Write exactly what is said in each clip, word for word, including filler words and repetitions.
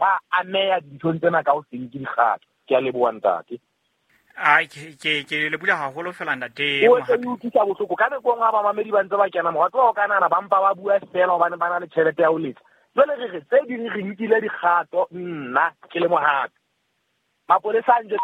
ba ameya dinthong tsena ka ho se nke dikgato. Ke a leboha ntate. A ke ke ke le bula haholo fela ntate. O tse utlwisa bohloko ka nako nngwe ba mamedi ba ntse ba kena mo batho ba ka nana ba mpa ba bua fela hobane ba na le tjhelete ya ho letsa. Jwale re re tse ding re nkile dikgato, nna ke le Mohapi. Mapolesa a ntse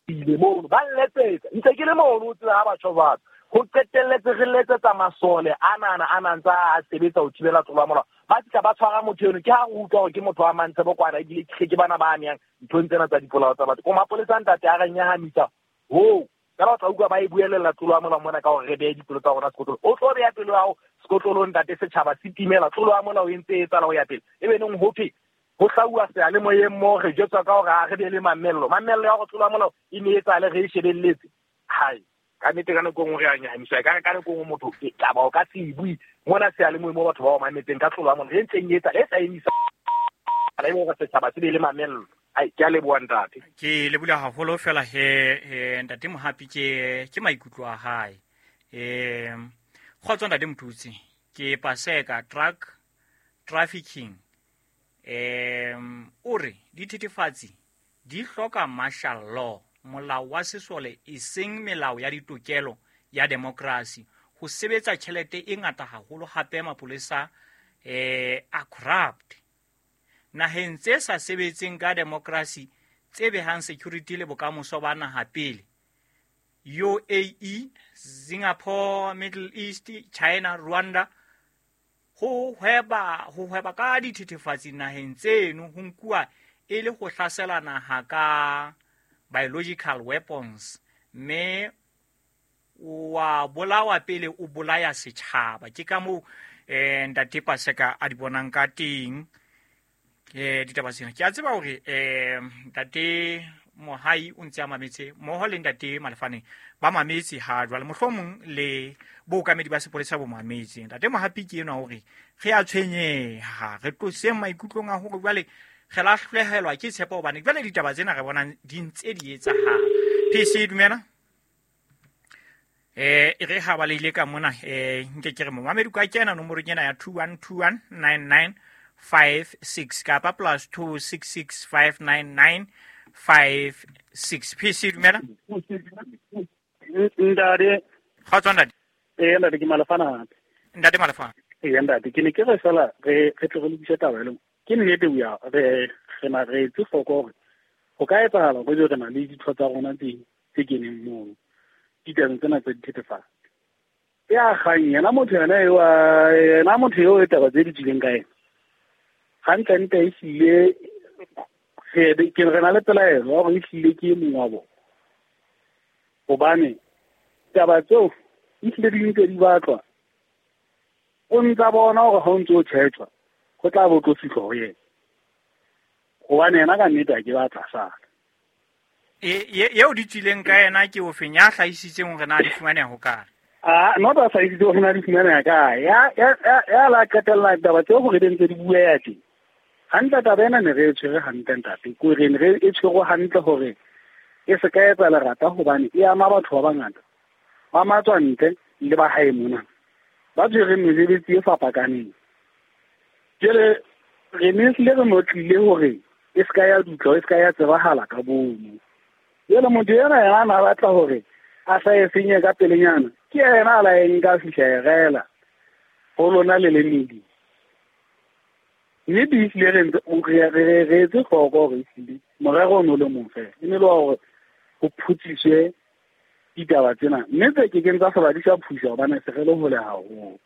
ile mono ba nletsetsa ntse ke le mono o tseba ha batho ba ho qetelletse re letsetsa masole a nana a nang tsa a sebetsa ho thibela tlolo ya molao. Ba fihla ba tshwara motho eno, ke ha re utlwa hore ke motho wa Mantshebo kwana, ebile ke ke bana ba amehang nthong tsena tsa dipolao tsa batho. Ko mapolesa ntate a re nyahamisa ho ka ba tla utlwa ba e buelella tlolo ya molao mona ka hore re behe dipelo tsa rona sekotlolo. O tlo beha pelo ya hao sekotlolong ntate, setjhaba se timela, tlolo ya molao e ntse e etsahala ho ya pele. Ebe neng ho thwe ho hlauwa seyalemoyeng moo re jwetswa ka hore ha re be le mamello. Mamello ya hore tlolo ya molao e ne e etsahale re e shebelletse. Hai, ka nnete ka nako e nngwe re a nyahamiswa. Ekare ka nako e nngwe motho ke taba o ka se e bue mona seyalemoyeng moo batho ba o mametseng ka tlolo ya molao e ntseng e etsahala, e sa emisa e hore setjhaba se be le mamello. Ai, ke a leboha ntate. Ke leboha haholo fela he, he ntate Mohapi ke, ke maikutlo a hae. Eh, kgotso ntate Motutsi, ke Paseka drug trafficking. Eh, o re dithethefatsi di hloka martial law, molao wa sesole e seng melao ya ditokelo ya democracy. Ho sebetsa tjhelete e ngata haholo, hape mapolesa eh a corrupt. Naheng tse sa sebetseng ka democracy tse behang security le bokamoso ba naha pele, U A E, Singapore, Middle East, China, Rwanda, ho hweba, ho hweba ka dithethefatsi naheng tseno ho nkuwa e le ho hlasela naha ka biological weapons, mme wa bolawa pele o bolaya setjhaba. Ke ka moo eh ntate Paseka a di bonang ka teng eh ditaba tsena. Ke a tseba hore eh ntate Mohai o ntse a mametse mmoho le ntate Malefane ba mametse ha jwale, mohlomong le bookamedi ba sepolesa bo mametse. Ntate Mohapi ke enwa hore re a tshwenyeha, re tloseng maikutlong a hore jwale re lahlehelwa ke tshepo, hobane jwale ditaba tsena re bonang di ntse di etsahala. P C dumela. Eh e re ha ba le ile ka mona, eh nke ke re momamedi ka kena nomorong ena ya two one two one nine nine five six kapa plus two six six five nine nine five six. P C dumela. Ntate. Kgotso ntate. Eh ntate ke Malefana hape. Ntate Malefana. Eh ntate ke ne ke re fela re re tle re lokise taba eno. Ke nnete o ya re re na re tse hloko hore ho ka etsahala hore re na le ditho tsa rona tse tse keneng mono ditabeng tsena tsa dithethefatsi. Ya kgang yena motho yena eo yena motho eo e taba tse di tswileng ka ena hantlentle e hlile re ke re na le pelaelo ya hore e hlile ke e mong wa bona, hobane taba tseo e hlile di ntse di batlwa. O ntsa bona hore ha o ntso o tjhetjwa ho tla bo tlo fihla ho yena, hobane yena ka nnete ha ke batla sala. E eo di tswileng ka yena ke ofeng ya hlahisitseng hore na di fumaneha ho kae? Ah, no ba hlahisitse hore na di fumaneha kae. Ya ya ya la qetella taba tseo hore di ntse di bueha teng. Hantle taba ena ne re e tshwere hantle ntate, ko re ne re e tshwere hantle hore e se ka etsa lerata, hobane e ama batho ba bangata ba matswantle le ba hae mona ba tshwereng mesebetsi e fapakaneng. Jwale re ne hlile re motlile hore e se ka ya dutla, e se ka ya tsebahala ka bomo. Jwale motho ena yena a na batla hore a sa e senye ka pelenyana, ke yena a la e nka fihla e rela ho lona le le medi. Nnete e hlile re ntse re re etse hloko hore ehlile morero o no le mong fela, e ne le wa hore ho phutsiswe ditaba tsena, mme tse kekeng tsa hlola di sa phusha hobane se re le hole haholo.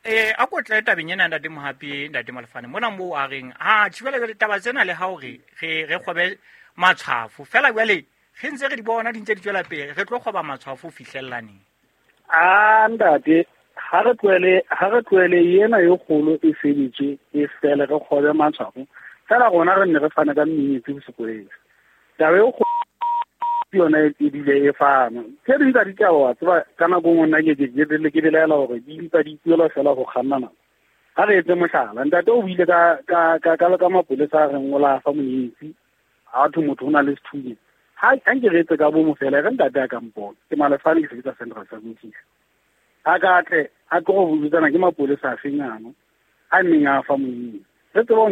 Eh a ko tle tabeng ena ntate Mohapi, ntate Malefane mona moo a reng ha tjhibele jwale taba tsena le ha hore re re kgobe matshwafo fela jwale re ntse re di bona di ntse di tswela pele, re tlo kgoba matshwafo ho fihlellaneng. Ah ntate, ha re tlohele ha re tlohele ena e kgolo e sebetse e fele re kgobe matshwafo fela rona re nne re fane ka menyetsi ho sepolesa. Taba e kgolo yona e bile e fana tse ding tsa ditaba wa tseba ka nako nngwe nna ke ke ke belaela hore di mpa di ikuela fela ho kganna nako. Ha re etse mohlala, ntate o buile ka ka ka ka ka mapolesa a reng o la fa monyetsi ha thwe motho o na le sethunya. Ha ha nke re etse ka bomo fela re ntate a ka mpona ke Malefane ke sebetsa Central Services. Ha ka tle a tlo go butsana ke mapolesa a feng ano a neng a fa monyetsi re tseba.